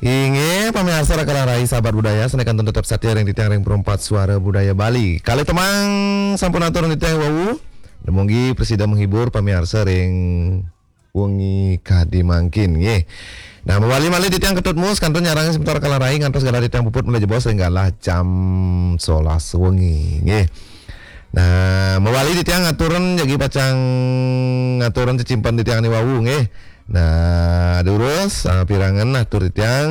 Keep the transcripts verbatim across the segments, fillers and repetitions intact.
Inggih, pamiarsa Raka Larai, sahabat budaya, sané kantun tetep satia ring titiang ring Perempat Suara Budaya Bali. Kalih tembang sampun atur ring titiang wau. Dumugi prasida menghibur pamiarsa ring wengi kadi mangkin, nggih. Nah, mawali malih titiang Ketut Mus kantun nyarengin semeton Raka Larai ngantos galah titiang puput malih jebos ring galah jam sebelas wengi, nggih. Nah, mawali titiang aturang jagi pacang aturang cecimpedan titiang ané wau, nggih. Nah, durus, ah, pirengang atur titiang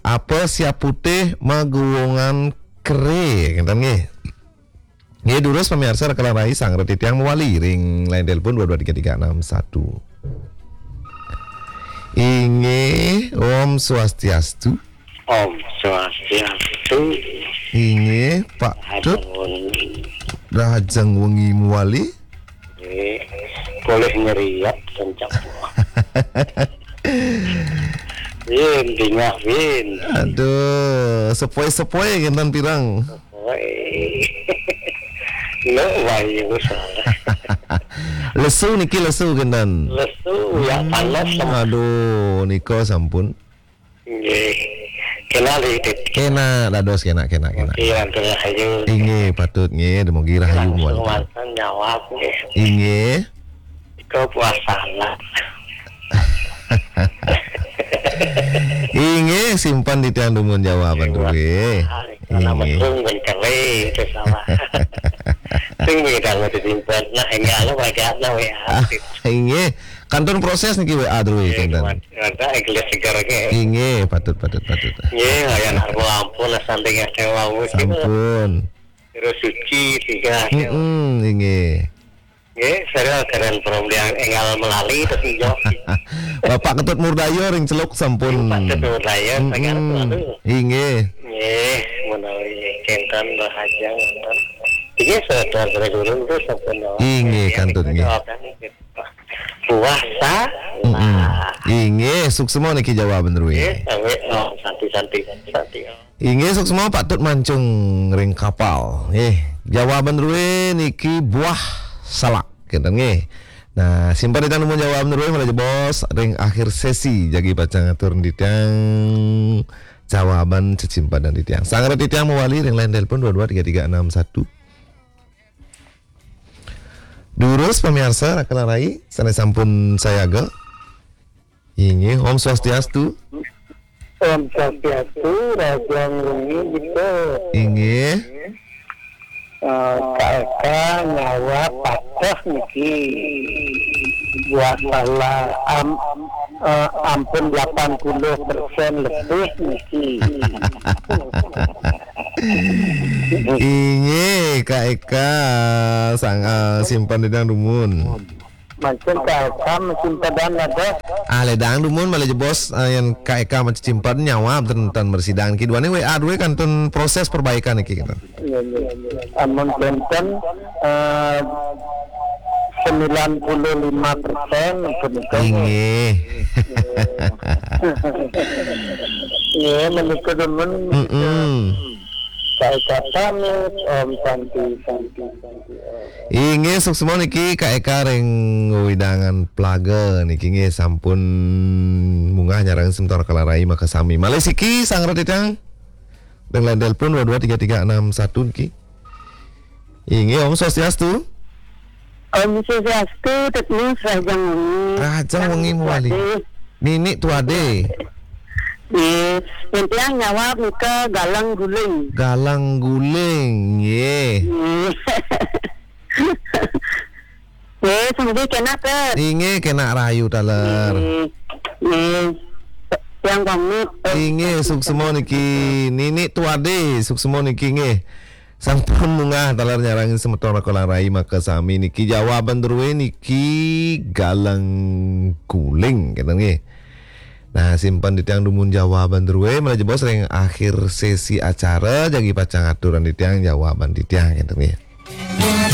Apa Siap Putih Maguwungan Keré, ngéten nggih. Nggih, durus pamiarsa Raka Larai, sareng titiang mawali ring line telepon dua dua tiga tiga enam satu. Inggih, Om Swastiastu. Om Swastiastu. Inggih, Pak Tut. Rahajeng wengi. Rahajeng wengi mawali. Nggih. Polih nyeriak kencang. Yén dingah, Win. Aduh, sepoi-sepoi kénten pireng. Woi. Lo, wai, lo salah. Lesu niki, lesu kénten. Lesu, ya, hmm, panas, sama. Aduh, nika sampun. Nggih. Kénak, Dit. Kénak, dados kénak, kénak, kénak. Nggih, lantur ayu. Inggih, patut nggih, dumugi rahayu. Langsung mawali. Manten nyawab, nggih. Inggih. Nika puasa lah. Inggih, simpen titiang dumun jawaban drué. Inggih. Nama sung mencari itu salah. Sing beda mau disimpen. Nah, enggak lo pakai apa ya? Ah, inggih. Kantun proses niki W A drué, nggih, kénten. Ada gelas segar ke. Inggih, patut, patut, patut. Nggih, ayan harga ampun lah, samping ya, sewa wis. Sampun. Terus suci tiga. Mm-mm, inggih. Nggih, saya keren peromdian enggal melali terus hijau. Bapak Ketut Murdaya ring Celuk sampun. Bapak Ketut Murdaya, mm-mm, sangat selalu. Inggih. Nggih, menawi kénten rahajeng wonten. Inggih, saudara guru itu sampun. Inggih, nggih, kantun, nggih. Jawaban itu. Puasa. Mm-mm. Nah. Inggih, suksma niki jawaban drué. Nggih, sami, oh, santi, santi, santi. Inggih, suksma Pak Tut Mancung ring Kapal. Nggih, jawaban drué niki buah salak, kénten nggih. Nah, simpen titiang dumun jawaban drué malih jebos ring akhir sesi jagi pacang atur titiang jawaban cecimpedan titiang. Sareng titiang mawali ring line telepon dua dua tiga tiga enam satu. Durus pamiarsa Raka Larai sané sampun sayaga. Inggih, Om Swastiastu. Om Swastiastu, rahajeng wengi, Dito. Inggih. Eh, Kak Eka nyawab pateh niki. Buat salah am-, eh, ampun delapan puluh persen lebih niki. Inggih, Kak Eka, sang, eh, simpen titiang dumun. Mangkin Kak Eka masimpedan ada. Ah, ledang dumun malih jebos, eh, yén Kak Eka masimpedan nyawab ten, ten mresidang niki. Duaning W A drué kantun proses perbaikan niki, gitu. Iya, iya. Amun kénten, eh, sembilan puluh lima persen punika. Inggih. Nggih, menika demen. Mm-mm. Saya pamit, Om Santi, Santi, Santi, Om. Inggih, suksma niki Kak Eka ring wewidangan Plaga niki nggih sampun munggah nyarengin semeton Raka Larai makasami. Malih siki sareng titiang ring line telepon dua dua tiga tiga enam satu niki. Inggih, Om Swastiastu. Om Swastiastu, Tut Mus, rahajeng wengi. Rahajeng wengi mawali. Nini Tuade. Nggih, titiang nyawab nika Galang Guling. Galang Guling, nggih. Nggih. Nggih, sami kénak, Tut. Inggih, kénak rahayu taler. Nggih. Nggih. Titiang pamit, Tut. Inggih, suksma niki Nini Tuade, suksma niki nggih. Sampun munggah taler nyarengin semeton Raka Larai makasami niki jawaban drué niki Galang Guling, kénten nggih. Nah, simpen titiang dumun jawaban drué malih jebos ring akhir sesi acara jagi pacang aturang titiang jawaban titiang, kénten nggih.